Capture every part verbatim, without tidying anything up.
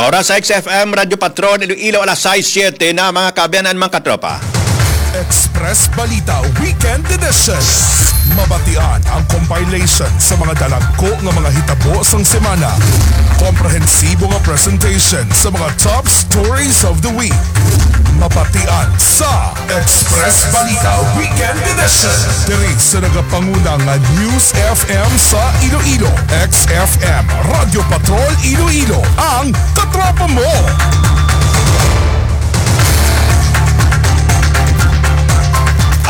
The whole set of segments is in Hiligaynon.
Oras sa X F M Radyo Patrol Iloilo, alas sais siyete na, mga kaabyanan, mga katropa. Express Balita Weekend Edition. Mabatian ang compilation sa mga dalagko nga mga hitabo sang semana. Komprehensibo nga presentation sa mga top stories of the week. Mabatian sa Express Balita Weekend Edition. Diri sa nagapanguna nga News F M sa Iloilo, X F M, Radyo Patrol Iloilo, ang katropa mo.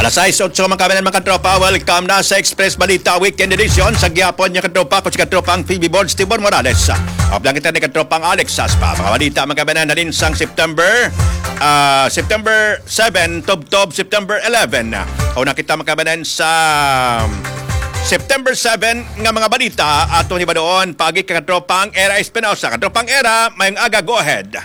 Alas sais otso, mga kaabyanan, mga katropa. Welcome na sa Express Balita Weekend Edition. Sa gihapon niya, katropa, ko si katropang P B Boards, Tibor Morales. Uplang kita ni katropang Alex Saspa. Mga balita, mga kaabyanan, halin sang September, ah, September seven, tubtob September eleven. Una kita, mga kaabyanan, sa September seven nga mga balita. Aton hibaluon paagi kay katropang Era Espinosa. Katropang Era, mayong aga, go ahead.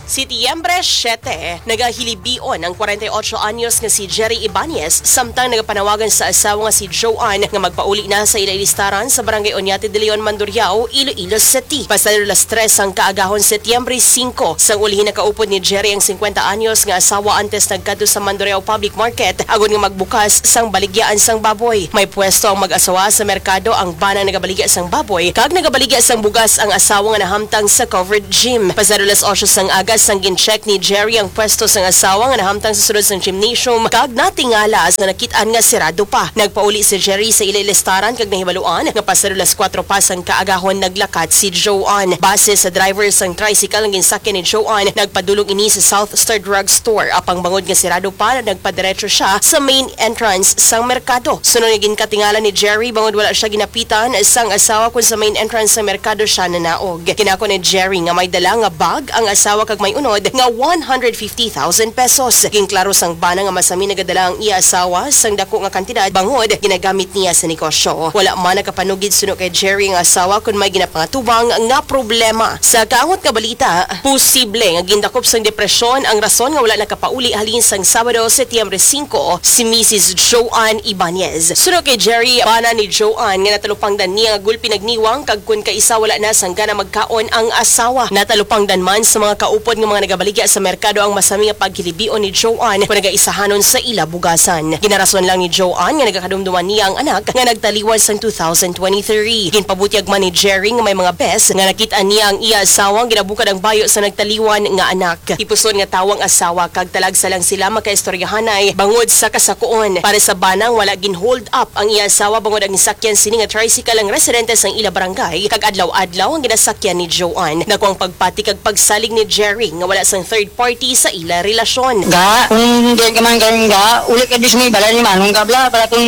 Setyembre siyete, nagahilibion ang kwarenta y ocho anyos nga si Jerry Ibanez, samtang nagapanawagan sa asawa nga si Joanne nga magpauli na sa ila listaran sa Barangay Oñate de Leon, Mandurriao, Iloilo City. Pasado las tres sang kaagahon, Setyembre singko, sang ulihi nakaupod ni Jerry ang singkwenta anyos nga asawa antes nagkadto sa Mandurriao Public Market agod nga magbukas sang baligyaan sang baboy. May pwesto ang mag-asawa sa merkado, ang bana nagabaligya sang baboy kag nagabaligya sang bugas ang asawa nga nahamtang sa covered gym. Pasado las otso sang aga sang gin-check ni Jerry ang pwesto sang asawa nga nahamtang sa sulod sang gymnasium kag natingala sa nakit-an nga sirado pa. Nagpauli si Jerry sa ila listaran kag nahibaluan nga pasado las kuwatro pa sang kaagahon naglakat si Joanne. Base sa driver sang tricycle nga ginsakyan ni Joanne, nagpadulong ini sa South Star Drug Store. Apang bangod nga sirado pa, nagpadiretso siya sa main entrance sang merkado. Suno nga ginkatingala ni Jerry, bangod wala siya ginapitan sang asawa kon sa main entrance sang merkado siya nanaog. Ginako ni Jerry nga may dala nga bag ang asawa kag may unod nga one hundred fifty thousand pesos. Ginklaro sang bana nga masami nagadala ang iya asawa sang dako nga kantidad bangod ginagamit niya sa negosyo. Wala man nakapanugid suno kay Jerry ang asawa kon may ginapangatubang nga problema. Sa kaangot nga balita, posible nga gindakop sang depresyon ang rason nga wala nakapauli halin sang Sabado, Setyembre singko, si Misis Joanne Ibanez. Suno kay Jerry, bana ni Joanne nga natalupangdan niya nga gulpi nagniwang kag kon kaisa wala na sang gana magkaon ang asawa. Natalupangdan man sa mga kaupod nga mga nagabaligya sa merkado ang masami nga paghilibion ni Joanne kon nagaisahanon sa ila bugasan. Ginarason lang ni Joanne nga nagakadumduman niya ang anak nga nagtaliwan sang two thousand twenty-three. Ginpabutyag man ni Jerry nga may mga bes nga nakit-an niya ang iya asawa nga ginabukad ang bayo sa nagtaliwan nga anak. Hipuson nga tawo ang asawa kag talagsa lang sila makaistoryahanay bangod sa kasakuon. Para sa bana, wala gin-hold up ang iya asawa bangod ang gisakyan sini nga tricycle ang residente sang ila barangay kag adlaw-adlaw ang ginasakyan ni Joanne. Dako ang pagpati kag pagsalig ni Jerry nga wala sang third party sa ila relasyon. Ga, kung hindi ka man karon ga, uli ka di sa may balay ni Manong Kabla, para kung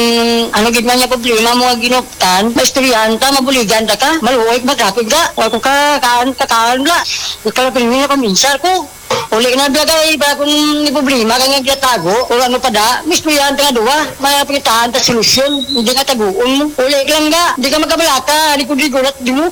ano gid man niya problema mo nga ginuptan, maistoryahan ta, mabuligan ta ka, maluoy, magkakig ga, wala ko ka, kaan, kakaan bla. Ikaw na pinili na paminsar ko. Uli na biya kay para kung ni problema ka nga gatago, o ano pa da, maistoryahan ta nga duwa, may pangitahan ta solusyon, hindi nga taguon mo. Uli ka lang ga, hindi ka magkabalaka, likod-likod at di mo.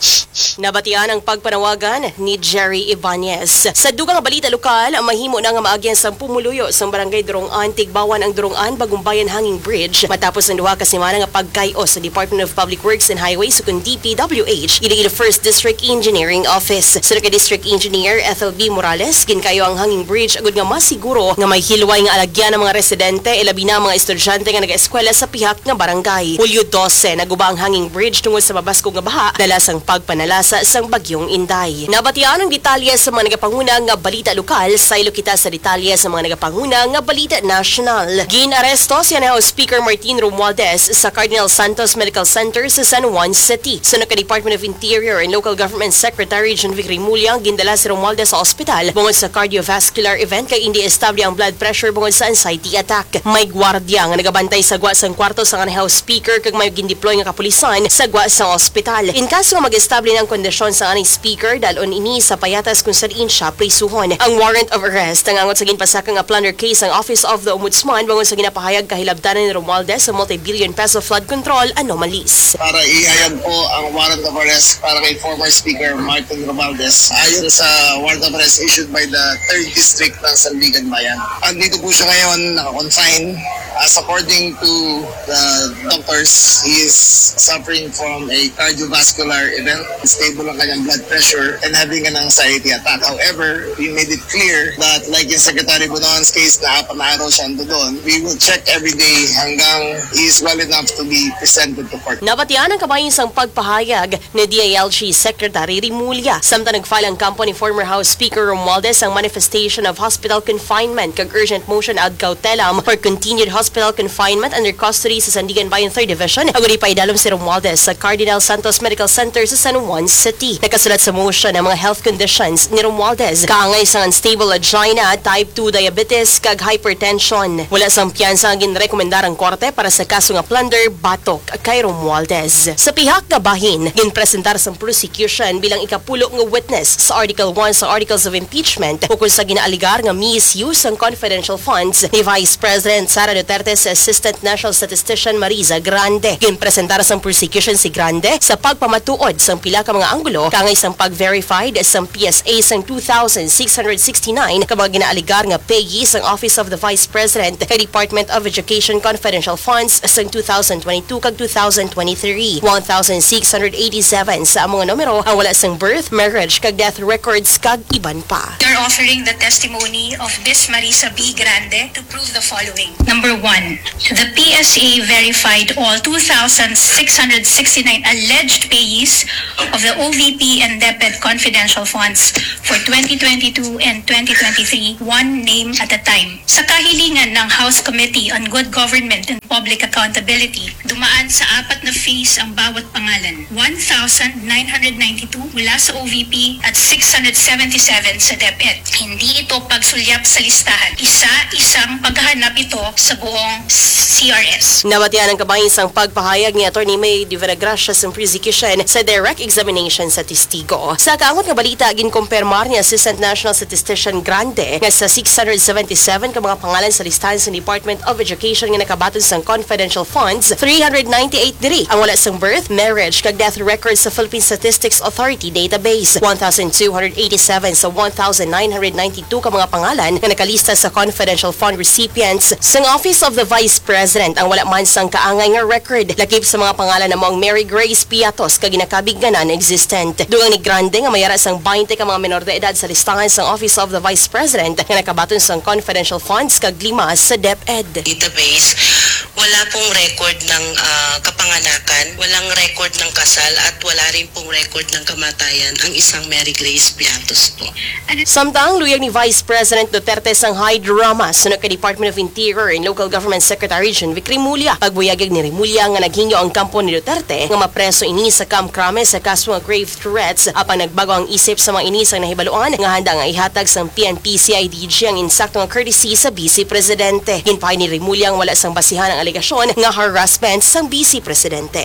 Nabatian ang pagpanawagan ni Jerry Ibanez. Sa dugang nga balita lokal, mahimo na nga maagyan sang pumuluyo sang Barangay Durong-an, Tigbawan ang Durong-an, Bagumbayan Hanging Bridge matapos ang duha ka semana nga pagkay-os sa Department of Public Works and Highways, ukon D P W H, Iloilo First District Engineering Office. Suno kay District Engineer Ethel B Morales, ginkayo ang hanging bridge agud nga masiguro nga may hilway nga alagyan ang mga residente, ilabi na ang mga estudyante nga nag-eskwela sa pihak nga barangay. Hulyo dose, naguba ang hanging bridge tungod sa mabaskog nga baha dala sang pagpanalasa sang Bagyong Inday. Nabatian ang detalye sa mga nagapanguna nga balita lokal, saylo kita sa detalye sa mga nagapanguna nga balita nasyonal. Gin-aresto si Anay House Speaker Martin Romualdez sa Cardinal Santos Medical Center sa San Juan City. Suno kay Department of Interior and Local Government Secretary John Vic Remulla, gindala si Romualdez sa ospital bungod sa cardiovascular event kay indi estable ang blood pressure bungod sa anxiety attack. May gwardiya nga nagabantay sa gwa sang kwarto sang Anay House Speaker kag may gindeploy nga kapulisan sa gwa sang ospital. In kaso nga mag-estable na ang kondisyon sang Anay Speaker, dal-on ini sa payatas kung sa diin siya prisuhon. Ang warrant of arrest nangangot sa ginpasaka nga plunder case sang Office of the Ombudsman bangod sa ginapahayag kahilabtanan ni Romualdez sa multi-billion peso flood control anomalies. Para ihayag po ang warrant of arrest para kay former Speaker Martin Romualdez. Ayon sa warrant of arrest issued by the uh, third district ng Sandiganbayan. Andito po siya ngayon, naka-confine. As according to the doctors, he is suffering from a cardiovascular event. Stable ang kanyang blood pressure and having an anxiety attack. However, we made it clear that, like in Secretary Bonoan's case, na apat na araw siya ando doon. We will check every day hanggang he is well enough to be presented to court. Nabatian ang kabahin sang pagpahayag ni D I L G Secretary Remulla. Samtang nag-file ang kampo ni former House Speaker Romualdez ang manifestation of hospital confinement kag urgent motion ad cautelam for continued hospital confinement under custody sa Sandiganbayan Third Division, agud ipaidalom si Romualdez sa Cardinal Santos Medical Center sa San Juan City. Nakasulat sa motion ang mga health conditions ni Romualdez, kaangay sang unstable angina, type two diabetes, kag hypertension. Wala sang piyansa ang ginrekomendar ang korte para sa kaso nga plunder batok kay Romualdez. Sa pihak nga bahin, ginpresentar sang prosecution bilang ikapulo nga witness sa Article one sa Articles of Impeachment ukon sa ginaalegar nga misuse sang confidential funds ni Vice President Sara Duterte sa Assistant National Statistician Marisa Grande. Ginpresentar sang prosecution si Grande sa pagpamatuod sang pila ka mga anggulo kaangay sang pag-verified sang P S A sang two thousand six hundred sixty-nine ka mga ginaalegar nga payee sang Office of the Vice President kay Department of Education confidential funds sang two thousand twenty-two kag two thousand twenty-three. One thousand six hundred eighty-seven sa amo nga numero ang wala sang birth, marriage, kag death records, kag iban pa. We are offering the testimony of Miss Marisa B. Grande to prove the following. Number one, the P S A verified all two thousand six hundred sixty-nine alleged payees of the O V P and DepEd confidential funds for twenty twenty-two and twenty twenty-three, one name at a time. Sa kahilingan ng House Committee on Good Government and Public Accountability, dumaan sa apat na phase ang bawat pangalan. One thousand nine hundred ninety-two mula sa O V P at six hundred seventy-seven sa DepEd. Hindi ito pagsulyap sa listahan. Isa-isang paghahanap ito sa buong C R S. Nabatian ang kabahin sang pagpahayag ni Attorney May de Vera Gracia sa prosecution sa direct examination sa testigo. Sa kaangot nga balita, ginkumpirmar ni Assistant National Statistician Grande nga sa six hundred seventy-seven ka mga pangalan sa listahan sa Department of Education nga nakabaton sang confidential funds, three hundred ninety-eight diri ang wala sang birth, marriage, kag death records sa Philippine Statistics Authority database. One thousand two hundred eighty-seven sa one thousand nine hundred ninety-two ka mga pangalan nga nakalista sa confidential fund recipients sang Office of the Vice President ang wala man sang kaangay nga record. Lakip sa mga pangalan amo ang Mary Grace Piatos kag ginakabig nga non-existent. Dugang ni Grande nga may ara sang twenty ka mga menor de edad sa listahan sang Office of the Vice President nga nakabaton sang confidential funds kag lima sa DepEd. Database, wala pong record ng, ah, kapanganakan, walang record ng kasal, at wala rin pong record ng kamatayan ang isang Mary Grace Piatos po. Samtang luyag ni Vice President Duterte sang high drama suno kay Department of Interior and Local Government Secretary Jonvic Remulla. Pagbuyagyag ni Remulla nga naghingyo ang kampo ni Duterte nga mapreso ini sa Camp Crame sa kaso nga grave threats, apang nagbago ang isip sa mga ini sang nahibaluan nga handa nga ihatag sang P N P C I D G ang insakto nga courtesy sa Vice Presidente. Ginpahay ni Remulla nga wala sang basihan ang alegasyon nga harassment sang Vice Presidente.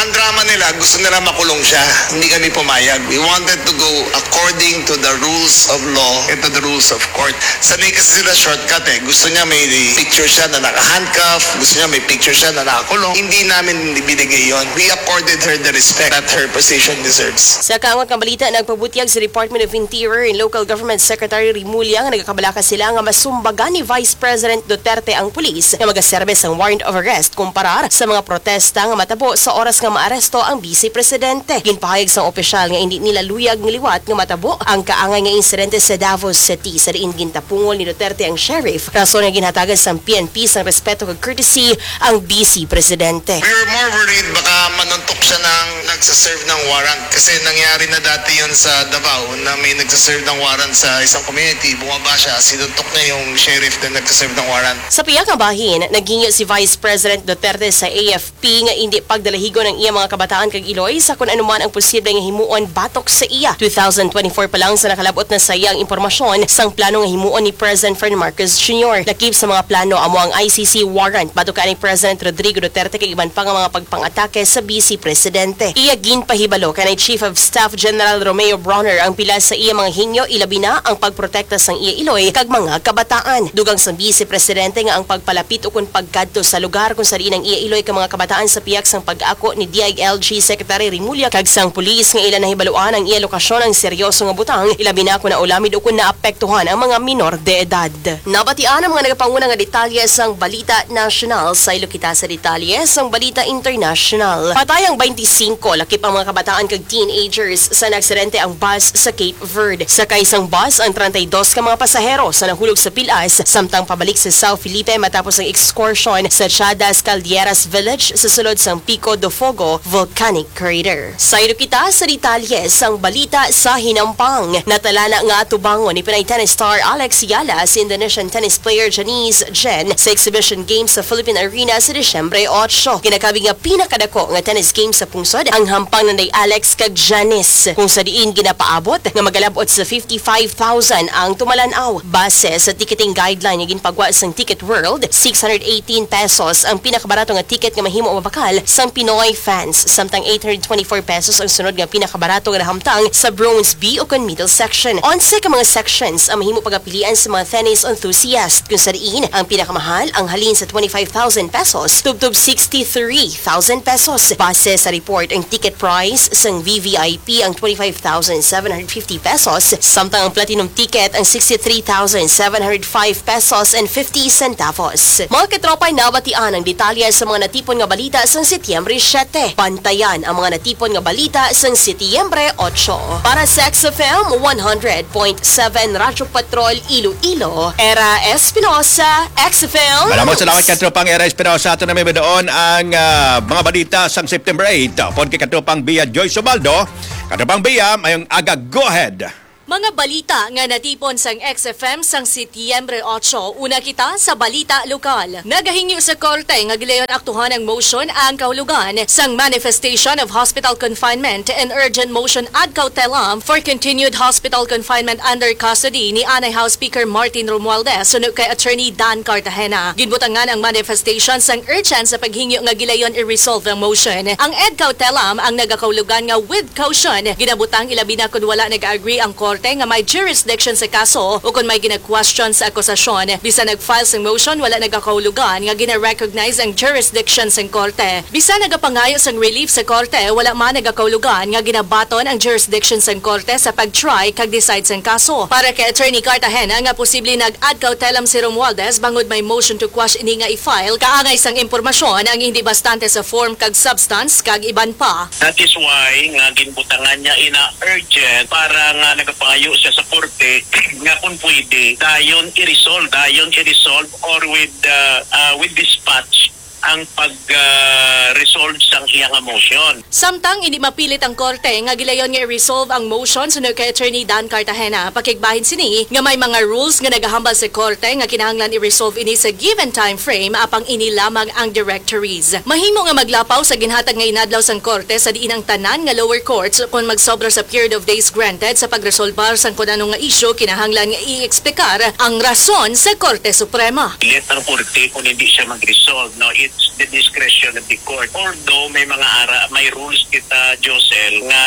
Ang drama nila, gusto nila makulong siya. Hindi kami pumayag. We wanted to go according to the rules of law and to the rules of court. Sanay kasi sila shortcut eh. Gusto niya may picture siya na naka-handcuff, gusto niya may picture siya na nakakulong. Hindi namin ibinigay yon. We accorded her the respect that her position deserves. Sa kaangot nga balita, nagpabutyag si Department of Interior and Local Government Secretary Remulla nga nagakabalaka sila nga masumbagan ni Vice President Duterte ang pulis nga magaserbe sang warrant of arrest kumparar sa mga protesta nga matabo sa oras nga maaresto ang Vice Presidente. Ginpahayag sang opisyal nga indi nila luyag nga liwat nga matabo ang kaangay nga insidente sa Davao City, sa diin gintapungol ni Duterte ang sheriff, rason nga ginhatagan sang P N P sang respeto kag courtesy ang Vice Presidente. We were more worried baka manuntok siya ng nagsaserve ng warrant. Kasi nangyari na dati yun sa Davao na may nagsaserve ng warrant sa isang community. Bumaba siya, sinuntok niya yung sheriff na nagsaserve ng warrant. Sa pihak nga bahin, naghingyo si Vice President Duterte sa A F P nga indi pagdalahigon ang iya mga kabataan kag iloy sa kon ano man ang posible nga himuon batok sa iya. Two thousand twenty-four pa lang sa nakalab-ot na sa iya ang impormasyon sang plano nga himuon ni President Ferdinand Marcos Junior. Lakip sa mga plano amo ang I C C warrant batok kay ni President Rodrigo Duterte kag iban pa nga mga pagpang-atake sa Vice Presidente. Iya ginpahibalo kanay Chief of Staff General Romeo Brawner ang pila sa iya mga hingyo, ilabi na ang pagprotekta sang iya iloy kag mga kabataan. Dugang sang Vice Presidente nga ang pagpalapit ukon pagkadto sa lugar kung sa diin ang iya iloy ka mga kabataan sa pihak sang pag-ako ni D I L G Secretary Remulla kag sang pulis nga ila nahibaluan ang iya lokasyon ang seryoso nga butang, ilabi na kon naulamid o kon naapektuhan ang mga minor de edad. Nabatian ang mga nagapanguna nga detalye sang balita nasyonal. Saylo kita sa detalye sang balita internasyonal. Patay ang twenty-five lakip ang mga kabataan kag teenagers sa naaksidente ang bus sa Cape Verde. Sakay sang bus ang treinta y dos ka mga pasahero sa nahulog sa Pilas samtang pabalik sa South Felipe matapos ang excursion sa Chadas Caldieras Village sa sulod sang Pico do Fogo volcanic crater. Saylo kita sa detalye sang balita sa hinampang. Natalana nga atubangon ni Pinay tennis star Alex Yala si Indonesian tennis player Janice Jen sa exhibition game sa Philippine Arena sa Disyembre otso. Ginakabig nga pinakadako nga tennis game sa pungsod ang hampang nanday Alex kag Janice, kung sa diin ginapaabot nga magalab-ot sa fifty-five thousand ang tumalan-aw. Base sa ticketing guideline nga ginpagwa sang Ticket World, six hundred eighteen pesos ang pinakabarato nga ticket nga mahimo mabakal sang Pinoy fans, samtang eight hundred twenty-four pesos ang sunod nga pinakabarato nga nahamtang sa bronze B o kon middle section. Onse ka mga sections ang mahimo pagapilian sa mga tennis enthusiast, kung sa diin ang pinakamahal ang halin sa twenty-five thousand pesos tubtob sixty-three thousand pesos. Base sa report, ang ticket price sang V V I P ang twenty-five thousand seven hundred fifty pesos, samtang ang platinum ticket ang sixty-three thousand seven hundred five pesos and fifty centavos. Mga katropa, nabatian ang detalye sa mga natipon nga balita sang Setyembre siete. Bantayan ang mga natipon nga balita sang Setyembre otso. Para sa X F M one hundred point seven Radyo Patrol Iloilo, Era Espinosa, X F M. Maraming salamat, Katropang Era Espinosa. Ato na may doon ang, ah, mga balita sang September eight. Upod kay Katropang Bia Joy Subaldo. Katropang Bia, mayong aga, go ahead. Mga balita nga natipon sang X F M sang Setyembre otso, una kita sa balita lokal. Nagahingyo sa korte nga gilayon aktuhan ang motion ang kahulugan sang manifestation of hospital confinement and urgent motion ad cautelam for continued hospital confinement under custody ni Anay House Speaker Martin Romualdez suno kay Attorney Dan Cartagena. Ginbutangan ang manifestation sang urgent sa paghingyo nga gilayon i-resolve ang motion. Ang ad cautelam ang nagakahulugan nga with caution, ginabutang ilabi na kon wala nag-agree ang korte nga may jurisdiction sa kaso o kon may gina-question sa akusasyon. Bisan nag-file sang motion, wala nagakahulugan nga gina-recognize ang jurisdiction sang korte. Bisan nagapangayo sang relief sa korte, wala man nagakahulugan nga ginabaton ang jurisdiction sang korte sa pag-try kag decide sang kaso. Para kay Attorney Cartagena nga posible nag-ad cautelam si Romualdez bangod may motion to quash ini nga i-file, kaangay sang impormasyon ang hindi bastante sa form kag substance kag iban pa. That is why nga ginbutangan niya ina urgent para nga nagapangayo siya sa korte nga kung pwede, dayon i-resolve, dayon i-resolve or with, uh, uh, with dispatch ang pag, uh, resolve sang iya nga motion. Samtang hindi mapilit ang korte nga gilayon nga i-resolve ang motion suno kay Attorney Dan Cartagena, pakigbahin sini nga may mga rules nga nagahambal sa korte nga kinahanglan i-resolve ini sa given time frame, apang ini lamang ang directories. Mahimo nga maglapaw sa ginhatag nga inadlaw sang korte sa diin ang tanan nga lower courts kon magsobra sa period of days granted sa pagresolbar sang kun ano nga isyu kinahanglan nga i-eksplikar ang rason sa Korte Suprema. Let ang korte kung hindi siya mag-resolve, no? It's the discretion of the court. Although may mga ara, may rules kita, Josel, nga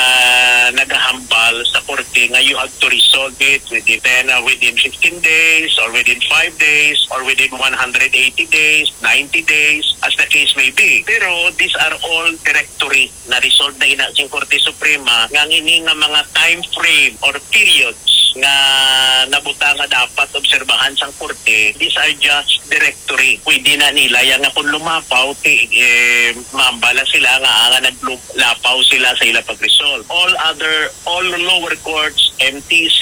nagahambal sa korte nga you have to resolve it within ten, uh, within fifteen days or within five days or within one hundred eighty days, ninety days, as the case may be. Pero these are all directory. Na-resolve na ina sing Korte Suprema nga ang ini nga mga time frame or periods nga nabutang nga dapat obserbahan sang korte, these are just directory. Pwede na nila yan nga kung lumapaw, ti, eh, maambala sila nga, nga naglapaw sila sa ila pag-resolve. All other, all lower courts, M T C,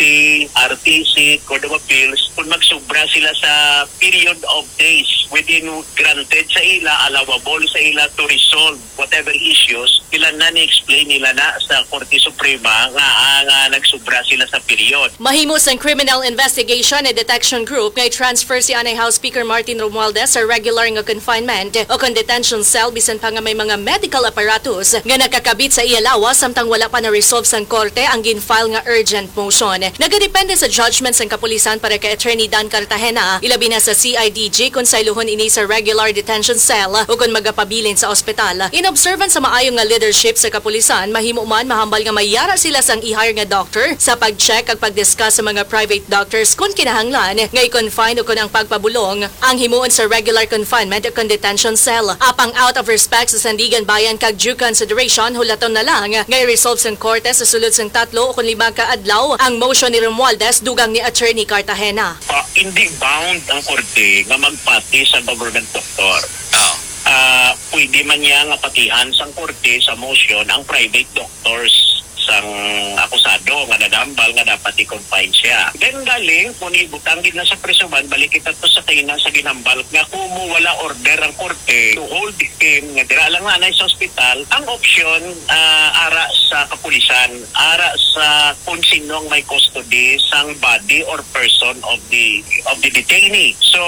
R T C, Court of Appeals, kung magsubra sila sa period of days within granted sa ila, allowable sa ila to resolve whatever issues, sila na ni-explain nila na sa Korte Suprema nga, ah, nga nagsubra sila sa period. Mahimo sang Criminal Investigation and Detection Group nga i-transfer si Anay House Speaker Martin Romualdez sa regular nga confinement o kon detention cell, bisan pa nga may mga medical apparatus nga nakakabit sa iya lawas samtang wala pa na-resolve sang korte ang gin-file nga urgent motion. Nagadepende sa judgment sang kapulisan para kay Attorney Dan Cartagena, ilabi na sa C I D G, kon saylohon ini sa regular detention cell o kon magapabilin sa ospital. In observance sa maayo nga leadership sa kapulisan, mahimo man mahambal nga may yara sila sang i-hire nga doctor sa pag-check kag pag-discuss sa mga private doctors kon kinahanglan nga i-confine o kon ang pagpabulong ang himuon sa regular confinement o kon detention cell. Apang out of respect sa Sandiganbayan kag due consideration, hulaton na lang nga i-resolve sang korte sa sulod sang tatlo o kon lima ka adlaw ang motion ni Romualdez dugang ni Attorney Cartagena. Ah, hindi bound ang korte nga magpati sa government doctor. Ah, pwede man niya nga patihan sang korte sa motion ang private doctors sang akusado nga nagahambal nga dapat i-confine siya. Then galing, kung ibutang gid na sa prisuhan, balik kita to sa kaina sa ginhambal nga kumo wala order ang korte to hold him nga dira lang na anay sa ospital, ang opsyon, ah, ara sa kapulisan, ara sa kung sino ang may custody sang body or person of the of the detainee. So,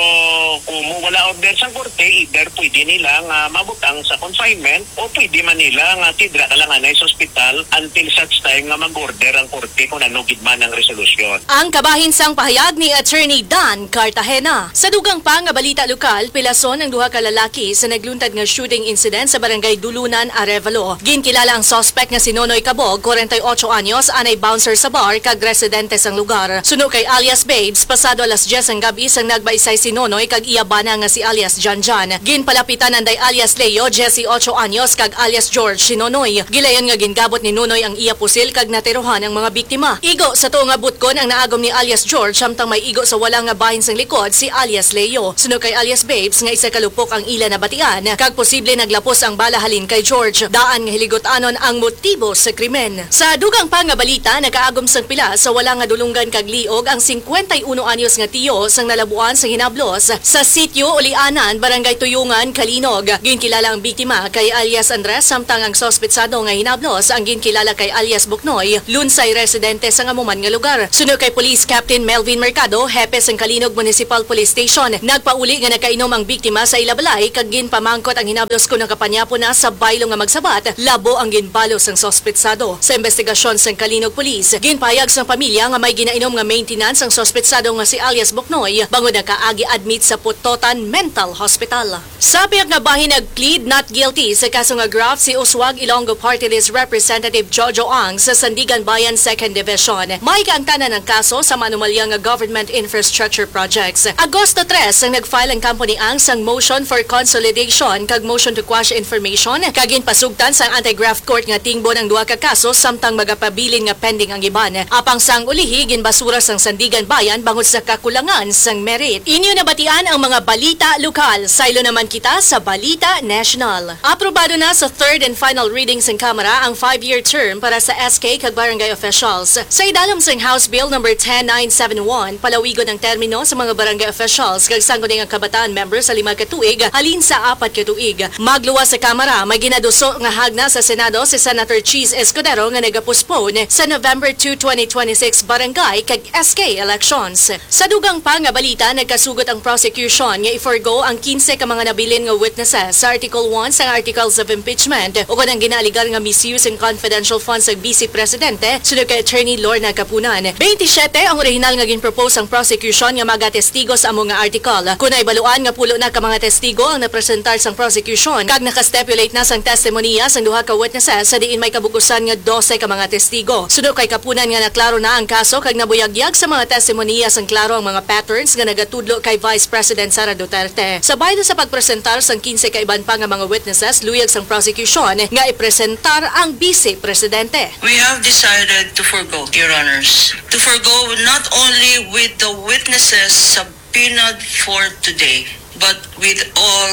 kung mo wala order sa korte, either pwede nila nga mabutang sa confinement o pwede man nila nga tidra na lang anay sa ospital until such time nga mag-order ang korte kung ano gid man ang resolusyon. Ang kabahin sang pahayag ni Attorney Dan Cartagena. Sa dugang pa nga balita lokal, pilason ang duha ka lalaki sa nagluntad nga shooting incident sa barangay Dulunan, Arevalo. Ginkilala ang suspect nga si Nonoy Kabog, kwarenta y ocho anyos, anay bouncer sa bar kag residente sang lugar. Suno kay alias Babes, pasado alas diyes ang gab-i sang nagbaisay si Nonoy kag iya bana nga si alias Janjan. Ginpalapitan anday alias Leo, diyes y ocho anyos, kag alias George si Nonoy. Gilayon nga gingabot ni Nonoy ang iya pusil kag natirohan ang mga biktima. Igo sa tuo nga butkon ang naagom ni alias George, samtang may igo sa wala nga bahin sang likod si alias Leo. Suno kay alias Babes nga isa ka lupok ang ila nabatian, kag posible naglapos ang bala halin kay George. Daan nga hiligot-anon ang motibo sa krimen. Sa dugang pa nga balita, nakaagom sang pila sa wala nga dulonggan kag liog ang singkwenta y uno anyos nga tiyo sang nalabuan sa hinablos sa sitio Ulianan, Barangay Tuyungan, Calinog. Ginkilala ang biktima kay alias Andres, samtang ang suspetsado nga hinablos ang ginkilala kay alias Buknoy, Lunsay, residente sa amo man nga lugar. Suno kay Police Captain Melvin Mercado, hepe sang Calinog Municipal Police Station, nagpauli nga nakainom ang biktima sa ila balay kag ginpamangkot ang hinablos kon nakapanyapo na sa baylo nga magsabat, labo ang ginbalo sang suspetsado. Sa investigasyon sang Calinog Police, ginpahayag sang pamilya nga may ginainom nga maintenance ang suspetsado nga si alias Buknoy bangod nakaagi admit sa Pototan Mental Hospital. Sa pihak nga bahin, nag-plead not guilty sa kaso nga graft si Uswag Ilonggo Party List Representative Jojo Ang sa Sandiganbayan Second Division. May kaangtanan ang kaso sa manumalya nga government infrastructure projects. Agosto tres ang nag-file ang kampo ni Ang sang motion for consolidation kag motion to quash information, kag ginpasugtan sang anti-graft court nga tingbon ang duha ka kaso, samtang magapabilin nga pending ang iban. Apang sang ulihi, ginbasura sang Sandiganbayan bangod sa kakulangan sang merit. Inyo nabatian ang mga balita lokal. Saylo naman kita sa Balita National. Aprobado na sa third and final reading sang Kamara ang five-year term para sa S K kag barangay officials. Sa idalom sang House Bill number ten nine seven one, palawigon ang termino sa mga barangay officials kag sangguniang kabataan member sa lima ka tuig halin sa apat ka tuig. Magluwas sa Kamara, may ginaduso nga hagna sa Senado si Senator Chiz Escudero nga nagapostpone sa November two, twenty twenty-six barangay kag S K elections. Sa dugang pa nga balita, nagkasugot ang prosecution nga i-forgo ang kinse ka mga nabilin nga witnesses sa Article one sang Articles of Impeachment ukon ang ginaaligar nga misuse sang confidential funds sang Vice Presidente, suno kay Attorney Lorna Kapunan. Twenty-siyete ang orihinal nga ginpropose sang prosecution nga magatestigo sa amo nga article. Kon naibaluan nga pulo na ka mga testigo ang napresentar sang prosecution kag nakastipulate na sang testimonya sang duha ka witnesses, sa diin may kabug-usan nga dose ka mga testigo. Suno kay Kapunan nga naklaro na ang kaso kag nabuyagyag sa mga testimonya sang klaro ang mga patterns nga nagatudlo kay Vice President Sara Duterte. Sa baylo sa pagpresentar sang kinse ka iban pa nga mga witnesses, luyag sang prosecution nga ipresentar ang Vice Presidente. We have decided to forgo, Your Honors, to forgo not only with the witnesses subpoenaed for today, but with all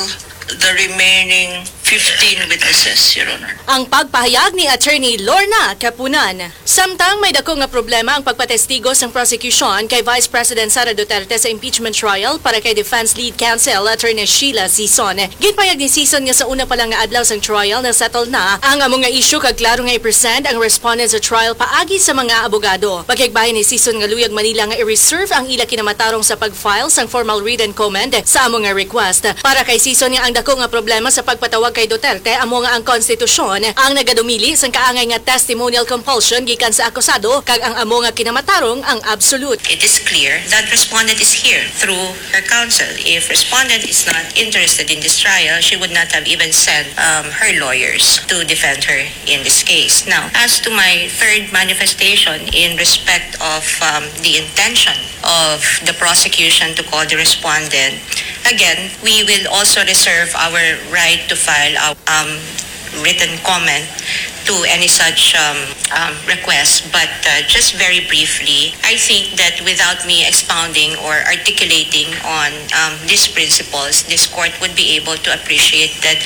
the remaining fifteen witnesses, Your Honor. Ang pagpahayag ni Attorney Lorna Kapunan. Samtang may dako nga problema ang pagpatestigo sang prosecution kay Vice President Sara Duterte sa impeachment trial para kay defense lead counsel Attorney Sheila Sison. Ginpayag ni Sison nga sa una pa lang nga adlaw sang trial, na-settle na ang amo nga issue kag klaro nga i-present ang respondent sa trial paagi sa mga abogado. Pakigbahin ni Sison nga luyag man nila nga i-reserve ang ila kinamatarong sa pag-file sang formal written comment sa amo nga request. Para kay Sison nga ang dako nga problema sa pagpatawag Duterte, amo nga ang konstitusyon ang nagadumili sang kaangay nga testimonial compulsion gikan sa akusado, kag ang amo nga kinamatarong ang absolute. It is clear that respondent is here through her counsel. If respondent is not interested in this trial, she would not have even sent, um, her lawyers to defend her in this case. Now, as to my third manifestation in respect of, um, the intention of the prosecution to call the respondent, again, we will also reserve our right to file our, um, written comment to any such, um, um, request. But, uh, just very briefly, I think that without me expounding or articulating on, um, these principles, this court would be able to appreciate that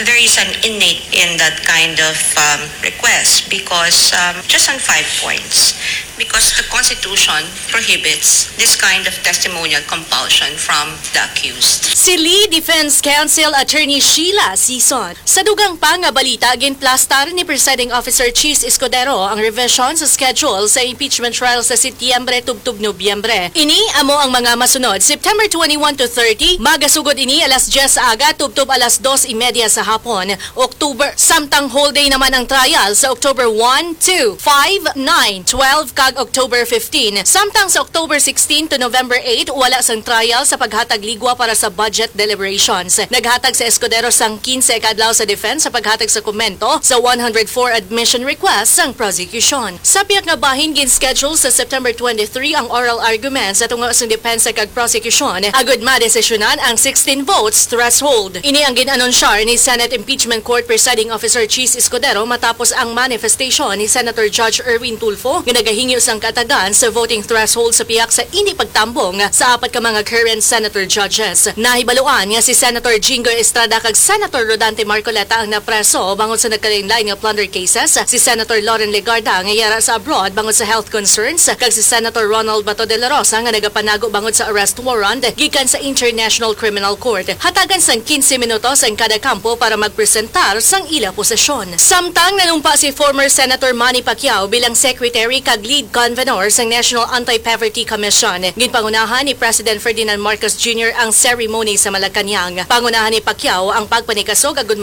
there is an innate in that kind of, um, request because, um, just on five points, because the Constitution prohibits this kind of testimonial compulsion from the accused. Si Lee Defense Counsel Attorney Sheila Sison. Sa dugang pa nga balita, ginplastar ni Presiding Officer Chiz Escudero ang revision sa schedule sa impeachment trial sa Setyembre tubtob Nobyembre. Ini amo ang mga masunod: September twenty-one to thirty, magasugod ini alas diyes sa aga tubtob alas dos y media sa hapon. October, samtang whole day naman ang trial sa October one, two, five, nine, twelve, kag October fifteen. Samtang sa October sixteen to November eight, wala sang trial sa paghatag ligwa para sa budget deliberations. Naghatag si Escudero sang kinse ka adlaw sa defense sa paghatag sa komento sa one hundred four admission request sang prosecution. Sa pihak nga bahin, gin-schedule sa September twenty-three ang oral arguments sa tunga sang depensa kag prosecution, agud madesisyonan ang sixteen votes threshold. Ini ang gin-anunsyar ni Senate Impeachment Court Presiding Officer Chiz Escudero matapos ang manifestation ni Senator Judge Erwin Tulfo nga nagahingyo sang kaatagan sa voting threshold sa pihak sa indi pagtambong sa apat ka mga current senator judges. Nahibaluan nga si Senator Jinggoy Estrada kag Senator Rodante Marcoleta ang napreso bangod sa nagkalainlain nga plunder cases, si Senator Loren Legarda nga yara sa abroad bangod sa health concerns, kag si Senator Ronald Bato de la Rosa nga nagapanago bangod sa arrest warrant gikan sa International Criminal Court. Hatagan sang quince minutos ang kada kampo para magpresentar sang ila posisyon. Samtang nanumpa si former Senator Manny Pacquiao bilang secretary kag lead convener sang National Anti-Poverty Commission, ginpangunahan ni President Ferdinand Marcos Junior ang ceremony sa Malacañang. Pangunahan ni Pacquiao ang pagpanikasog agud